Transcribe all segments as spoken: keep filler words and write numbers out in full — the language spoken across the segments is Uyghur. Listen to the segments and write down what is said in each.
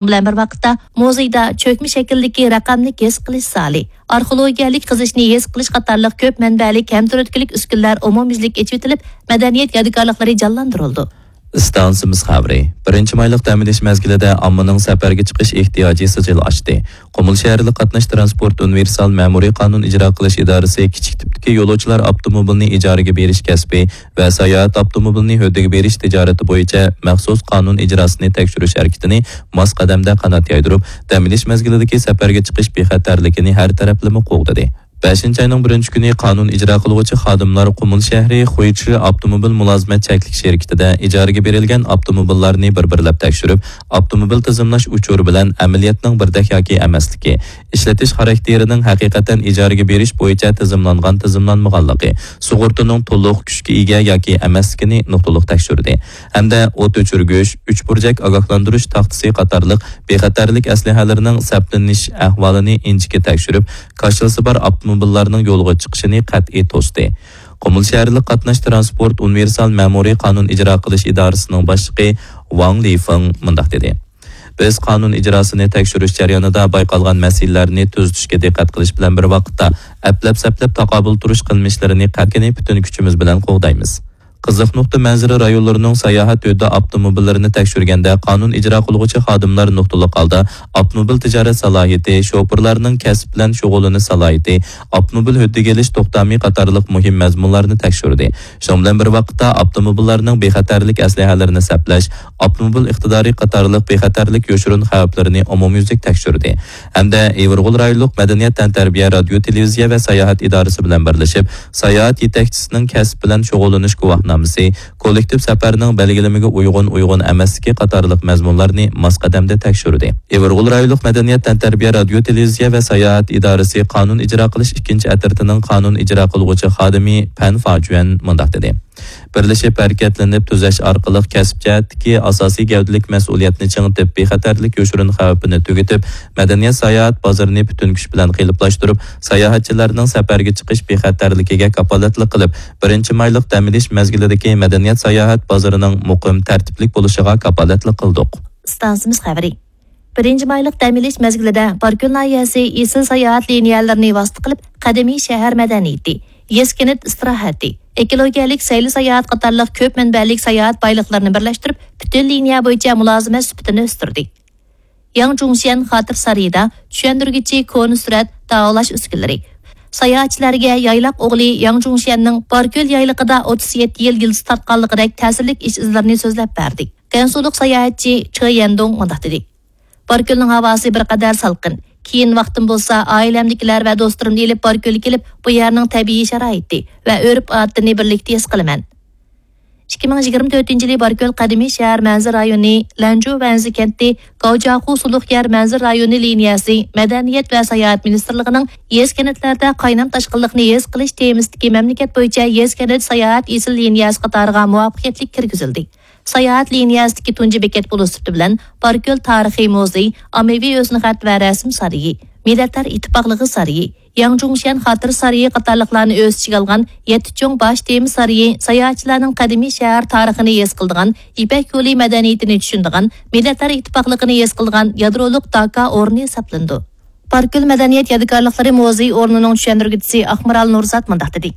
بىلەن بىر ۋاقىتتا، مۇزېيدا چۆكمە شەكىلدىكى رەقەملىك ھېس قىلىش زالى، ئارخېئولوگىيەلىك قېزىشنى ھېس قىلىش قاتارلىق كۆپ مەنبەلىك ھەم تۈرتكىلىك ئۈسكۈنىلەر ئومۇميۈزلۈك ئېچىۋېتىلىپ، مەدەنىيەت يادىكارلىقلىرى جانلاندۇرۇلىدۇ. ئىستانسىمىز خەۋىرى. بىرىنچى مايلىق دەم ئېلىش مەزگىلىدە ئاممىنىڭ سەپەرگە چىقىش ئېھتىياجى سىجىل ئاشتى. قۇمۇل شەھەرلىك قاتناش تىرانسپورت ئۇنىۋېرسال مەمۇرىي قانۇن ئىجرا قىلىش ئىدارىسى كىچىك تىپتىكى يولۇچىلار ئاپتوموبىلىنى ئىجارىگە بېرىش كەسپى ۋە ساياھەت ئاپتوموبىلىنى ھۆددىگە بېرىش تىجارىتى بويىچە مەخسۇس قانۇن ئىجراسىنى تەكشۈرۈش ھەرىكىتىنى ماس قەدەمدە قانات يايدۇرۇپ، دەم ئېلىش مەزگىلىدىكى سەپەرگە چىقىش بىخەتەرلىكىنى ھەر تەرەپلىمە قوغدىدى. بەشىنچى ئاينىڭ بىرىنچى كۈنى قانۇن ئىجرا قىلغۇچى خادىملار قۇمۇل شەھىرى خۇيچى ئاپتوموبىل مۇلازىمەت چەكلىك شىركىتىدە ئىجارىگە بېرىلگەن ئاپتوموبىللارنى بىر-بىرلەپ تەكشۈرۈپ، ئاپتوموبىل تىزىملاش ئۇچۇرى بىلەن ئەمەلىيەتنىڭ بىردەك ياكى ئەمەسلىكى، ئىشلىتىش خاراكتېرىنىڭ ھەقىقەتەن ئىجارىگە بېرىش بويىچە تىزىملانغان-تىزىملانمىغانلىقى، سۇغۇرتىنىڭ تولۇق كۈچكە ئىگە ياكى ئەمەسلىكىنى نۇقتىلىق تەكشۈردى ھەمدە ئوت ئۆچۈرگۈچ، ئۈچ بۇرجەك ئاگاھلاندۇرۇش تاختىسى قاتارلىق بىخەتەرلىك ئەسلىھەلىرىنىڭ سەپلىنىش ئەھۋالىنى ئىنچىكە تەكشۈرۈپ، كاشىلىسى بار ئاپتوموبىللارنىڭ يولغا چىقىشىنى قەتئىي توستى. قۇمۇل شەھەرلىك قاتناش تىرانسپورت ئۇنىۋېرسال مەمۇرىي قانۇن ئىجرا قىلىش ئىدارىسىنىڭ باشلىقى ۋاڭ لىفېڭ مۇنداق دېدى: بىز قانۇن ئىجراسىنى تەكشۈرۈش جەريانىدا بايقالغان مەسىلىلەرنى تۈزىتىشكە دىققەت قىلىش بىلەن بىر ۋاقىتتا، ئەپلەپ-سەپلەپ تاقابىل تۇرۇش قىلمىشلىرىنى قەتئىي پۈتۈن كۈچىمىز بىلەن قوغدايمىز. قىزىق نۇقتا مەنزىرە رايونلىرىنىڭ ساياھەت ھۆددە ئاپتوموبىللىرىنى تەكشۈرگەندە، قانۇن ئىجرا قىلغۇچى خادىملار نۇقتىلىق ھالدا ئاپتوموبىل تىجارەت سالاھىيىتى، شوپۇرلارنىڭ كەسىپ بىلەن شۇغۇللىنىش سالاھىيىتى، ئاپتوموبىل ھۆددىگە ئېلىش توختامى قاتارلىق مۇھىم مەزمۇنلارنى تەكشۈردى. شۇنىڭ بىلەن بىر ۋاقىتتا، ئاپتوموبىللارنىڭ بىخەتەرلىك ئەسلىھەلىرىنى سەپلەش، ئاپتوموبىل ئىقتىدارى قاتارلىق بىخەتەرلىك يوشۇرۇن خەۋپلىرىنى ئومۇميۈزلۈك تەكشۈردى ھەمدە ئىۋىرغول رايونلۇق مەدەنىيەت تەنتەربىيە رادىيو تېلېۋىزىيە ۋە ساياھەت ئىدارىسى بىلەن بىرلىشىپ، ساياھەت يېتەكچىسىنىڭ كەسىپ بىلەن شۇغۇللىنىش گۇۋاھنامىسى، كوللېكتىپ سەپەرنىڭ بەلگىلىمىگە ئۇيغۇن، ئۇيغۇن ئەمەسلىكى قاتارلىق مەزمۇنلارنى ماس قەدەمدە تەكشۈردى. ئىۋىرغول رايونلۇق مەدەنىيەت تەنتەربىيە رادىيو تېلېۋىزىيە ۋە ساياھەت ئىدارىسى قانۇن ئىجرا قىلىش ئىككىنچى ئەترىتىنىڭ قانۇن ئىجرا قىلغۇچى خادىمى پەن فاجۈەن مۇنداق دېدى: بىرلىشىپ ھەرىكەتلىنىپ تۈزەش ئارقىلىق كەسىپ جەھەتتىكى ئاساسىي گەۋدىلىك مەسئۇلىيەتنى چىڭىتىپ، بىخەتەرلىك يوشۇرۇن خەۋپىنى تۈگىتىپ، مەدەنىيەت ساياھەت بازىرىنى پۈتۈن كۈچ بىلەن قېلىپلاشتۇرۇپ، ساياھەتچىلەرنىڭ سەپەرگە چىقىش بىخەتەرلىكىگە كاپالەتلىك قىلىپ، بىرىنچى مايلىق دەم ئېلىش مەزگىلىدىكى مەدەنىيەت ساياھەت بازىرىنىڭ مۇقىم، تەرتىپلىك بولۇشىغا كاپالەتلىك قىلدۇق. ئىستانسىمىز خەۋىرى. بىرىنچى مايلىق دەم ئېلىش مەزگىلىدە باركۆل ناھىيەسى ئېسىل ساياھەت لىنىيەلىرىنى ۋاسىتە قىلىپ، قەدىمىي شەھەر مەدەنىيىتى، يېزا كەنت ئىستىراھەتى، ئېكولوگىيەلىك سەيلە ساياھەت قاتارلىق كۆپ مەنبەلىك ساياھەت بايلىقلىرىنى بىرلەشتۈرۈپ، پۈتۈن لىنىيە بويىچە مۇلازىمەت سۈپىتىنى ئۆستۈردى. ياڭ جۇڭشيەن خاتىرە سارىيىدا چۈشەندۈرگۈچى كونا سۈرەت داۋالاش ئۈسكۈنىلىرى، ساياھەتچىلەرگە يايلاق ئوغلى ياڭ جۇڭشيەننىڭ باركۆل يايلىقىدا ئوتتۇز يەتتە يىل يىلتىز تارتقانلىقىدەك تەسىرلىك ئىش ئىزلىرىنى سۆزلەپ بەردى. گەنسۇلۇق ساياھەتچى چې يەندۇڭ مۇنداق دېدى: باركۆلنىڭ ھاۋاسى بىر قەدەر سالقىن. كېيىن ۋاقتىم بولسا، ئائىلەمدىكىلەر ۋە دوستلىرىمنى ئېلىپ باركۆلگە كېلىپ، بۇ يەرنىڭ تەبىئىي شارائىتى ۋە ئۆرپ-ئادىتىنى بىرلىكتە ھېس قىلىمەن. ئىككى مىڭ يىگىرمە تۆتىنچى يىلى باركۆل قەدىمىي شەھەر مەنزىرە رايونى، لەنجۇ ۋەنزى كەنتى، گاۋجياخۇ سۇلۇق يەر مەنزىرە رايونى لىنىيەسى، مەدەنىيەت ۋە ساياھەت مىنىستىرلىقىنىڭ يېزا كەنتلەردە قاينام تاشقىنلىقنى ھېس قىلىش تېمىسىدىكى مەملىكەت بويىچە يېزا كەنت ساياھەت ئېسىل لىنىيەسى قاتارىغا مۇۋەپپەقىيەتلىك كىرگۈزۈلدى. ساياھەت لىنىيەسىدىكى تۇنجى بېكەت بولۇش سۈپىتى بىلەن باركۆل تارىخىي مۇزېي، ئاممىۋى ھۆسنخەت ۋە رەسىم سارىيى، مىللەتلەر ئىتتىپاقلىقى سارىيى، ياڭ جۇڭشيەن خاتىرە سارىيى قاتارلىقلارنى ئۆز ئىچىگە ئالغان يەتتە چوڭ باش تېما سارىيى ساياھەتچىلەرنىڭ قەدىمىي شەھەر تارىخىنى ھېس قىلىدىغان، يىپەك يولى مەدەنىيىتىنى چۈشىنىدىغان، مىللەتلەر ئىتتىپاقلىقىنى ھېس قىلىدىغان يادرولۇق داكا ئورنى ھېسابلىنىدۇ. باركۆل مەدەنىيەت يادىكارلىقلىرى مۇزېي ئورنىنىڭ چۈشەندۈرگۈچىسى ئاقمارال نۇرزات مۇنداق دېدى: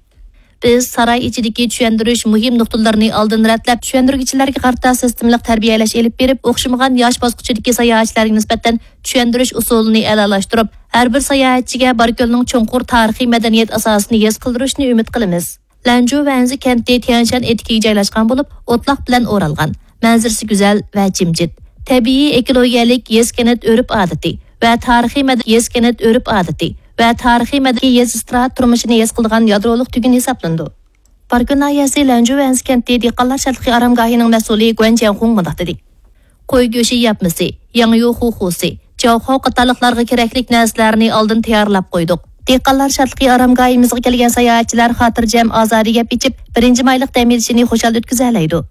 بىز ساراي ئىچىدىكى چۈشەندۈرۈش مۇھىم نۇقتىلىرىنى ئالدىن رەتلەپ، چۈشەندۈرگۈچىلەرگە قارىتا سىستېمىلىق تەربىيەلەش ئېلىپ بېرىپ، ئوخشىمىغان ياش باسقۇچىدىكى ساياھەتچىلەرگە نىسبەتەن چۈشەندۈرۈش ئۇسۇلىنى ئەلالاشتۇرۇپ، ھەر بىر ساياھەتچىگە باركۆلنىڭ چوڭقۇر تارىخىي مەدەنىيەت ئاساسىنى ھېس قىلدۇرۇشنى ئۈمىد قىلىمىز. لەنجۇ ۋەنزى كەنتى تيەنشەن ئېتىكىگە جايلاشقان بولۇپ، ئوتلاق بىلەن ئورالغان، مەنزىرىسى گۈزەل ۋە جىمجىت، تەبىئىي ئېكولوگىيەلىك يېزا كەنت ئۆرپ ئادىتى ۋە تارىخىي مەدەنىيەت يېزا كەنت ئۆرپ ئادىتى ۋە تارىخىي مەدەنىي يېزا ئىستىراھەت تۇرمۇشىنى ھېس قىلىدىغان يادرولۇق تۈگۈن ھېسابلىنىدۇ. باركۆل ناھىيەسى لەنجۇ ۋەنزى كەنتى دېھقانلار شادلىقى ئارامگاھىنىڭ مەسئۇلى گۇەن جيەنخۇڭ مۇنداق دېدى: قوي گۆشى ياپمىسى، ياڭيۇ خۇخۇسى، جاۋخاۋ قاتارلىقلارغا كېرەكلىك نەرسىلەرنى ئالدىن تەييارلاپ قويدۇق. دېھقانلار شادلىقى ئارامگاھىمىزغا كەلگەن ساياھەتچىلەر خاتىرجەم، ئازادە گەپ ئېچىپ، بىرىنچى مايلىق دەم ئېلىشىنى خۇشال ئۆتكۈزەلەيدۇ.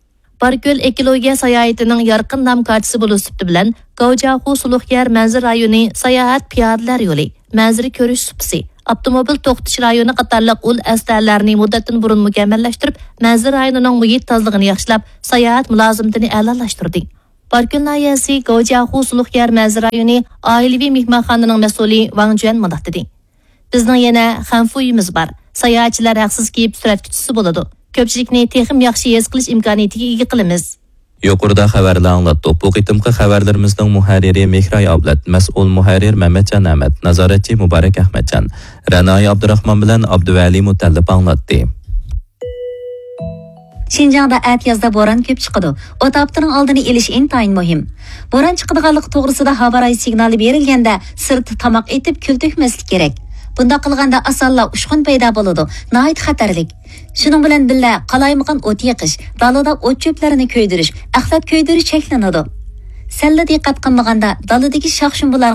باركۆل ئېكولوگىيە ساياھىتىنىڭ يارقىن نام كارتىسى بولۇش سۈپىتى بىلەن، گاۋجياخۇ سۇلۇق يەر مەنزىرە رايونى ساياھەت پىيادىلەر يولى، مەنزىرە كۆرۈش سۇپىسى، ئاپتوموبىل توختىتىش رايونى قاتارلىق ئۇل ئەسلىھەلەرنى مۇددەتتىن بۇرۇن مۇكەممەللەشتۈرۈپ، مەنزىرە رايونىنىڭ مۇھىت تازىلىقىنى ياخشىلاپ، ساياھەت مۇلازىمىتىنى ئەلالاشتۇردى. باركۆل ناھىيەسى گوجياخۇ سۇلۇق يەر مەنزىرە رايونى ئائىلىۋى مېھمانخانىنىڭ مەسئۇلى ۋاڭ جۈەن مۇنداق دېدى: بىزنىڭ يەنە خەنفۇيىمىز بار. ساياھەتچىلەر ھەقسىز كېلىپ سۈرەتكە چۈشسە بولىدۇ. كۆپچىلىكنى تېخىمۇ ياخشى ھېس قىلىش ئىمكانىيىتىگە ئىگە قىلىمىز. يۇقىرىدا خەۋەرلەر ئاڭلاتتۇق. بۇ قېتىمقى خەۋەرلىرىمىزنىڭ مۇھەررىرى مېھراي ئابلەت، مەسئۇل مۇھەررىر مەمەتجان ئەمەت، نازارەتچى مۇبارەك ئەخمەتجان، رەنايى ئابدۇراخمان بىلەن ئابدۇۋەلى مۇتەللىپ ئاڭلاتتى. شىنجاڭدا ئەتىيازدا بوران كۆپ چىقىدۇ. ئوت ئاپىتىنىڭ ئالدىنى ئېلىش ئىنتايىن مۇھىم. بوران چىقىدىغانلىقى توغرىسىدا ھاۋا رايى سىگنالى بېرىلگەندە، سىرتتا تاماق ئېتىپ، كۈل تۆكمەسلىك كېرەك. بۇنداق قىلغاندا ئاسانلا ئۇچقۇن پەيدا بولىدۇ، ناھايىتى خەتەرلىك. شۇنىڭ بىلەن بىللە، قالايمىقان ئوت يېقىش، دالىدا ئوت-چۆپلەرنى كۆيدۈرۈش، ئەخلەت كۆيدۈرۈش چەكلىنىدۇ. سەللا دىققەت قىلمىغاندا، دالىدىكى شاخ-شۇم بۇلار